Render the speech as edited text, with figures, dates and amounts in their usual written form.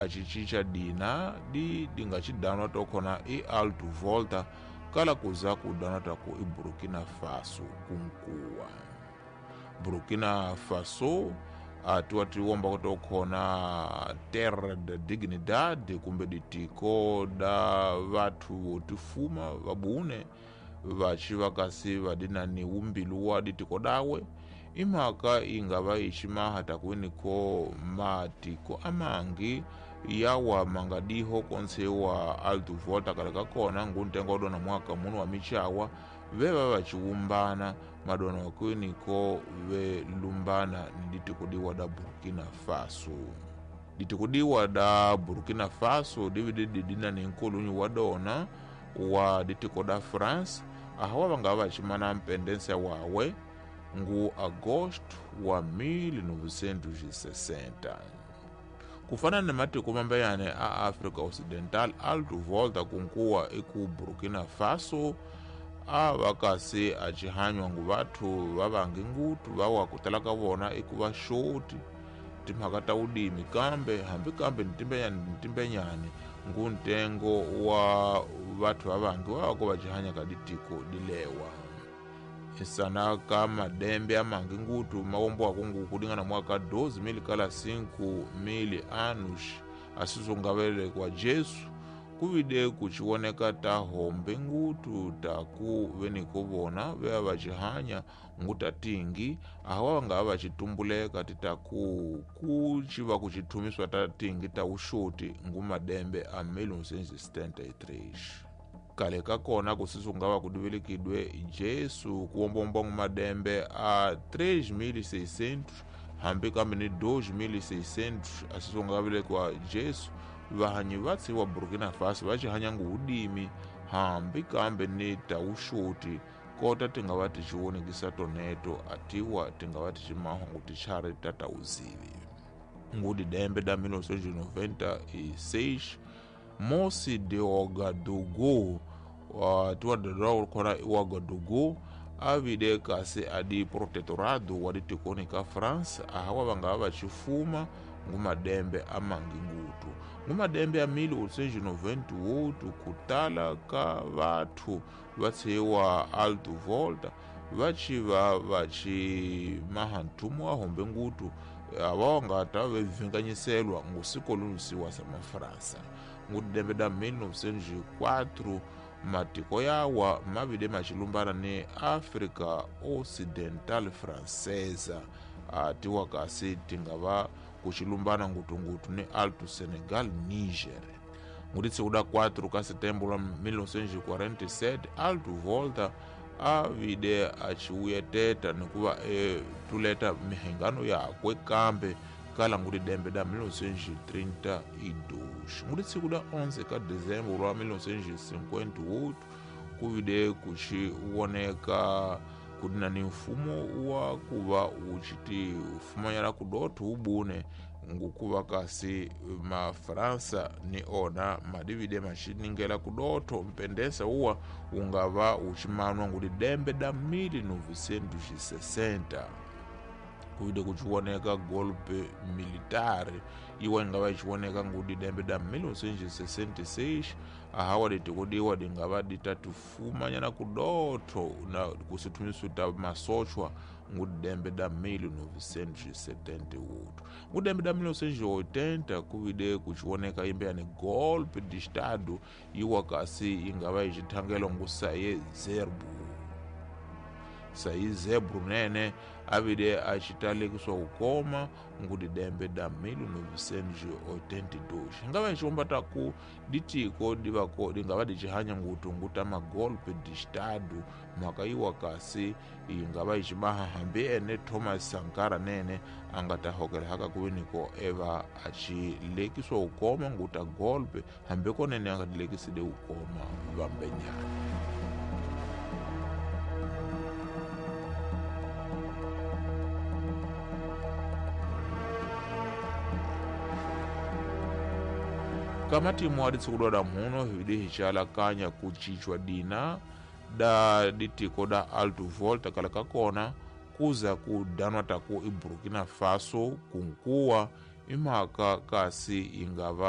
Acicinca dina di dinga cidanwa tokhona i Alto Volta kala kuza kudanwa taku i Burkina Faso kunkuwa. Burkina Faso atiwa tiwomba tokhona Terra da Dignidade kumbe ditiko da vathu votifuma vabune vaci vakasi vadinani umbilu wa ditiko dawe imhaka ingava icimaha takwiniko matiko amangi yawa mangadiho konse wa Alto Volta kale kakona nguntengo dona mwaka munu wa michawa veva vaciwumbana madona wakwiniko velumbana ni ditiko diwa da Burkina Faso. Ditiko diwa da Burkina Faso dividi didina ni nkulunyi wa dona wa ditiko da France ahawa vangava vacimana mpendense wawe ngu agosto wa 1960. Kufana na matiko mambeyane a Africa Occidental, Alto Volta kunkuwa iku Burkina Faso a vakasi acihanywa ngu vathu vavangi ngutu vawa kutala ka vona iku vaxoti timhaka ta udimi kambe hambi kambe nitimbenyane ngu ntengo wa vathu vavangi vavako vacihanya ka ditiko dilewa. Isana ka madembe amangi ngutu mawomboako ngu kudingana mwaka 2000 kala 5000 anos asizongavelekwa Jesu kuvide kuciwoneka ta hombe ngutu taku veniko vona vea vacihanya nguta tingi ahawa vangava vacitumbuleka titaku kuciva kucithumiswa ta tingi ta uxoti ngu madembe a 1973. Kale kakona kusisungava kudivelikidwe Jesu kuwombomba ngu madembe a 3600 hambi kambe ni 2600 asisongavelekwa Jesu vahanyi vatsi wa Burkina Faso vacihanya ngu udimi hambi kambe ni tauxoti kota tingava ticiwonekisa toneto atiwa tingava ticimaha ngu tichari ta tauzivi. Ngu didembe da 1996 Mosi de Ouagadougou tiwa dadwa khona Ouagadougou avide kasi adi protectorado wa ditikoni ka France ahawa vangava vacifuma ngu madembe amangi ngutu ngu madembe a 1898 kutala ka vathu vatshiwa Alto Volta vaciva vacimaha nthumu wa hombe ngutu ava vangata vevinganyiselwa ngu sikolonisiwa sa mafransa. Ngu dembe da 1904 matiko yawa mavide macilumbana ni Africa Occidental Francesa atiwa kasi tingava kucilumbana ngutungutu ni Alto Senegal Niger. Ngutitsi da 4 ka setembro 1947 Alto Volta avide aciwuyeteta nikuva tuleta mihengano yakwe kambe kala nguti dembe da 1932. Ngutitsi da 11 ka dezembro wa 1958 kuvide kuciwoneka kudina ni mfumo wa kuva uciti fumanyana kudotho ubune ngukuva kasi mafransa ni ona madivide maciningela kudotho mpendesa uwa ungava ucimanwa nguti dembe da 1960. Kuvide kuciwoneka golpe militare iwa ingava iciwoneka nguti dembe da 1966 ahawa ditikudiwa dingava ditatifumanyana kudotho na kusithumisu ta masochwa nguti dembe da 1978. Nguti dembe da 1980 kuvide kuciwoneka imbe golpe de estado iwa kasi ingava icithangelwa ngu Saye Zerbo. Saye Zebru nene avide acitalekiswa kukoma nguti dembe da 1982. Ingava iciomba taku ditiko divako dingava dicihanya ngutu nguta magolpe de estado mhaka iwa kasi ingava icimaha hambi ene Thomas Sankara nene angatahokela haka kuviniko eva acilekiswa kukoma nguta golpe hambi konene angatilekisile kukoma vambenyana. Kamatimu aditsikudwada muno hividi hicalakanya kucicwa dina da ditiko da Alto Volta kala kakona kuza kudanwa taku i Burkina Faso kunkuwa I mhaka kasi yi nga va